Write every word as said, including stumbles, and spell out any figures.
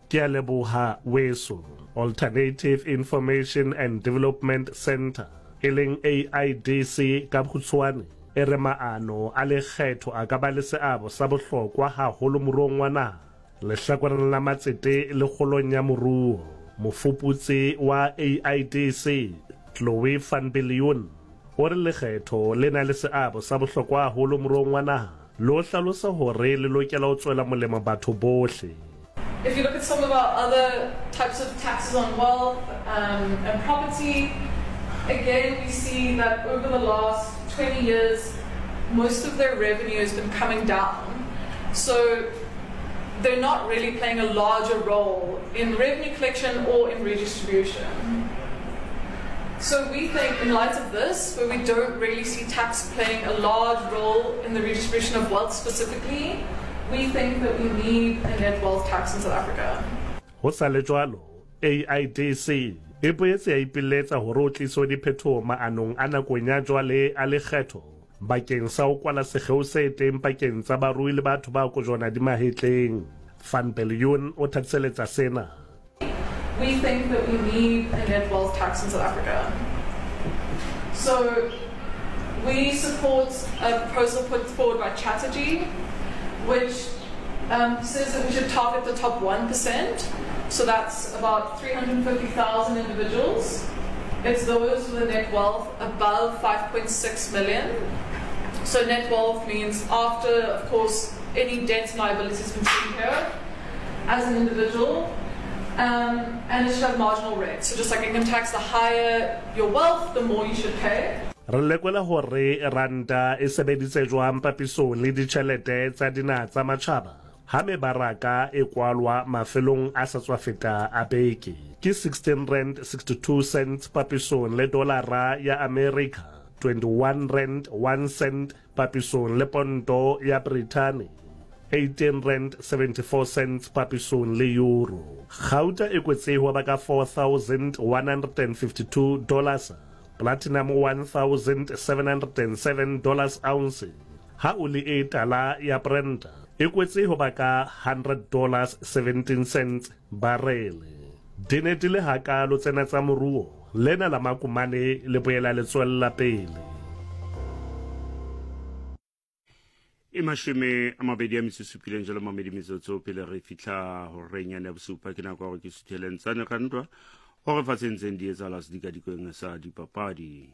Ke a leboha weso. Alternative Information and Development Centre, e leng A I D C ka bokgutshwane, e re maano a lekgetho a ka ba le seabo sa bohlokwa haholo moruong wa naha, lehlakoreng la matsete le kgolong ya moruo. Mofuputsi wa A I D C, Chloe van Biljoen, o re lekgetho le na le seabo sa bohlokwa haholo moruong wa naha, le ho hlalosa hore le lokela ho tswela molemo batho bohle. If you look at some of our other types of taxes on wealth um, and property, again we see that over the last twenty years, most of their revenue has been coming down. So they're not really playing a larger role in revenue collection or in redistribution. So we think, in light of this, where we don't really see tax playing a large role in the redistribution of wealth specifically, we think that we need a net wealth tax in South Africa. Ho sa le jwalo, A I D C e boetse ya ipiletsa hore ho tliswe diphetoho maanong a nakong ya jwale a lekgetho bakeng sa ho kwala sekgeo se teng pakeng tsa barui le batho ba kojwana di mahetleng. Van Biljoen o thatiseletsa sena. We think that we need a net wealth tax in South Africa. So we support a proposal put forward by Chatterjee, which um, says that we should target the top one percent. So that's about three hundred fifty thousand individuals. It's those with a net wealth above five point six million. So net wealth means after, of course, any debts and liabilities has been taken care of as an individual. Um, and it should have marginal rates. So just like income tax, the higher your wealth, the more you should pay. Re lekola hore ranta e sebeditse jwang papisong le ditjhelete tsa dinaha tsa matjhaba ha mebaraka e kwalwa mafelong a sa tswa feta a beke. Ke sixteen rand sixty-two cents papisong le dolara ya America, twenty-one rand one cent papisong le ponto ya Britain, eighteen rand seventy-four cents papisong le euro. Gauta e kwetse ho ba ka four thousand one hundred fifty-two dollars, platinum one thousand seven hundred seven dollars ounce. Ha oli e tala ya Brent e kwetse ho ba ka one hundred dollars seventeen cents barrel. Di ne di le hakalo tsena tsa moruo, lena la makumane le boela le tswella pele. E mashome a mabedi a metso e supileng jalo mamedi metsotso pele re fihla horeng yane ya bosupa. Ke nako ya hore ke sutheleng tsane ka ntwa hore fatsheng ntseng di etsahala sedikadikweng sa dipapadi.